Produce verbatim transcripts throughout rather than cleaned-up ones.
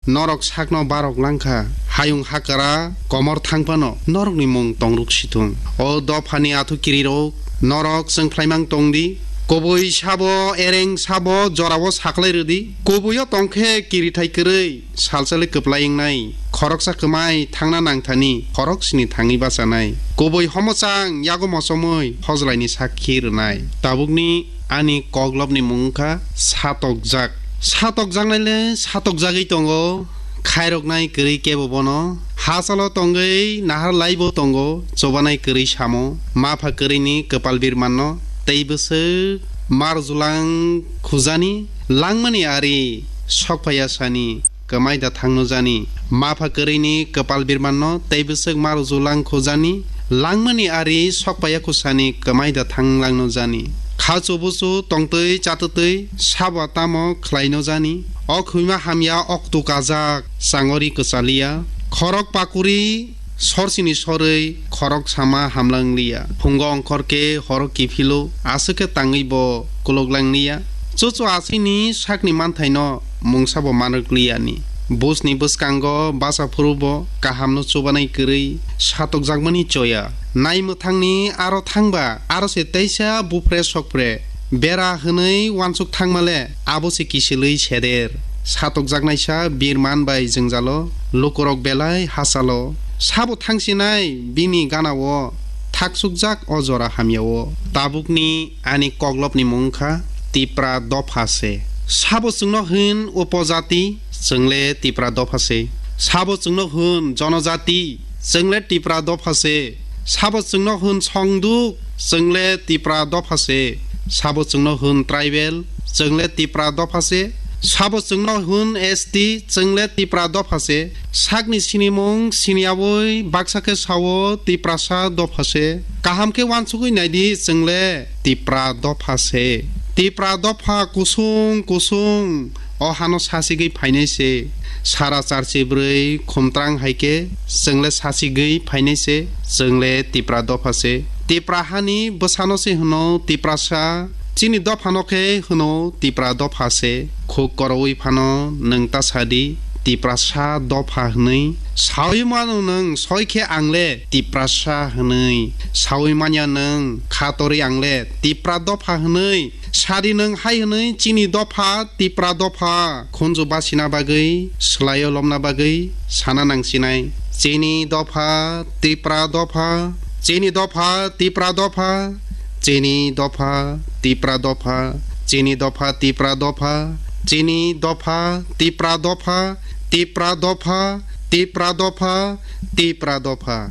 Norok sakno barok langkha, hayung hakara komor thangphano norokni mung tongruk sithung. O dophani athukirirok, norok chwng khlaimang tongdi. Kubui sabo, ereng sabo, jorao saklai rwdi. Kubuio tongkhe kirithai kwrwi, salsale kwplai wngnai. Khoroksa kwmai thangna nangthani, khoroksni thangwi bachanai. Kubui homochang yago mochomwi hojlaini sakhi rwnai. Tabukni ani koklopni mung wngkha satokjak. Satokjaknaile satokjagwi tongo, khairoknai kwrwi kebo bono. Hachalo tongwi nahar laibo tongo, chobanai kwrwi samo. Mapha kwrwini kwpal birmanno tei bwswk marjulang khujani langmani ari sokphaiya sani. Kwmai da thangno jani. Mapha kwrwini kwpal birmanno tei bwswk ma rwjulang khojani, langmani ari sokpaiya khosani kwmai da thanglangno jani. Khachu buchu tongtwi chatwtwi sabo tamo khlaino jani. O khwima hamya oktu kajak, changori kwchaliya. Khorok pakuri sorsini sorwi khorok sama hamlangliya. Phungo ongkhor khe horo kiphilo, aswk khe tangwi bo kuluklangliya. Chuchu aswini sakni manthaino mungsa bo manrwkliyani. Busni bwskango basa phuru bo kahamno chubanai kwrwi satokjakmani choya. Nai mwthangni aro thangba, aro se teisa bupre sokpre. Bera hwnwi uansuk thangmale, abo se kisilwi seder. Satokjaknaisa birman bai jwngjalo, lukurok belai hachalo. Sabo thangsinai bini ganao thaksukjak o jora hamyao. Tabukni ani koklopni mung wngkha Tipra dopha se. Sabo chwngno hwn upojati, chwngle Tipra dopha se. Sabo chwngno hwn jonojati, chwngle Tipra dopha se. Sabo chwngno hwn songduk, chwngle Tipra dopha se. Sabo chwngno hwn tribal, chwngle Tipra dopha se. Sabo chwngno hwn S T, chwngle Tipra dopha se. Sakni sinimung siniyaui baksa khe sao Tiprasa dopha se. Kaham khe uansugui naidi, chwngle Tipra dopha se. Tipra dopha kusung kusung o hano sasigwi phainai se. Sara charchi bwrwi khumtrang hai khe chwngle sasigwi phainai se. Chwngle Tipra dopha se. Tipra hani bwsano se hwno Tiprasa. Chini dophano khe hwno Tipra dopha se. Khuk koroui phano nwng ta sadi, Tiprasa dopha hwnwi. Saui mano nwng soi khe ang le Tiprasa hwnwi. Saui manya nwng kha torwi ang le Tipra dopha hwnwi. Sadi nwng hai hwnwi chini dopha Tipra dopha. Khunju basina bagwi, swlaio lomna bagwi sana nangsinai. Chini dopha Tipra dopha. Chini dopha Tipra dopha, chini dopha Tipra dopha, chini dopha Tipra dopha, chini dopha Tipra dopha, Tipra dopha, Tipra dopha, Tipra dopha.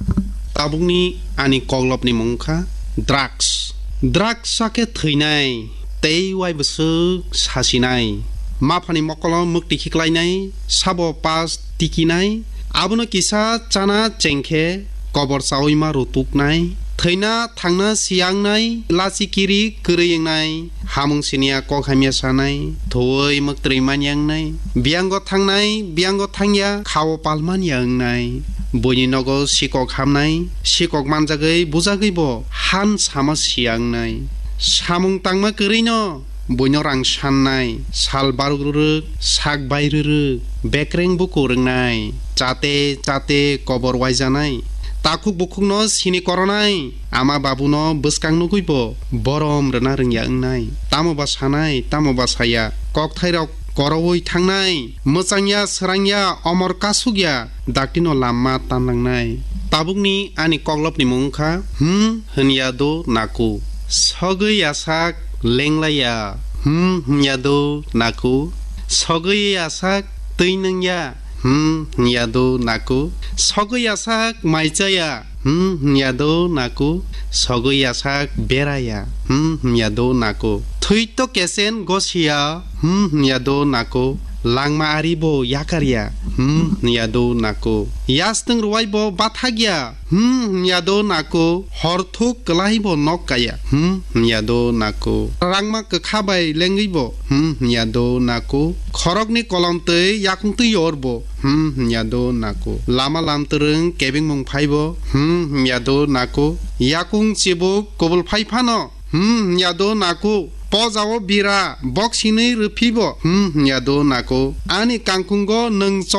Tabukni ani koklopni mung wngkha drugs. Drugs sakhe thwinai, tei uaibwswk sasinai. Maphani mokolo mwktwi khiklainai, sabo pas tikinai, abono kisa chana chengkhe kobor chaui ma rutuknai, thwina thangna siyangnai, lachi kiri kwrwi wngnai, hamung siniya kok hamya sanai, thuwi mwktwi manya wngnai, biyango thangnai, biyango thangya, khao palmanya wngnai, buini nogo sikok hamnai, sikok manjagwi bujagwi bo han sama siyangnai. Samung tangma kwrwino buino rang sannai, sal baruk rwrwk, sak bai rwrwk, bekreng bukur wngnai, chate chate kobor waijanai, takhuk bukhukno sini koronai, ama babuno bwskang nugwibo borom rwna rwngya wngnai, tamo ba sanai, tamo ba saya, kokthairok koroui thangnai, mwchangya, srangya, omor kasukya, daktino lamma tanlangnai. Tabukni ani koklopni mung wngkha, hmm, hwnya do naku. Sogwi yasak lenglaiya, hmm, hwnya do naku. Sogwi yasak twi nungya, hmm, hwnya do naku. Sogwi yasak mai chaya, hmm, hwnya do naku. Sogwi yasak beraya, hmm, hwnya do naku. Thwito kesen gosiya, hmm, hwnya do naku. Langma ari bo yakarya, hmm, hwnya do naku. Yastwng rwai bo bathakya, hmm, hwnya do naku. Horthuk kwlai bo nok kaya, hmm, hwnya do naku. Rangma kwkha bai lengwi bo, hmm, hwnya do naku. Khorokni kolom twi yakung twi yor bo, hmm, hwnya do naku. Lama lamtwrwng kebengmung phai bo, hmm, hwnya do naku. Yakung chibuk kubul phai phano, hmm, hwnya do naku. Pojao bira bok sinwi rwphi bo, hmm, hwnya do naku. Ani kangkungo nwng chol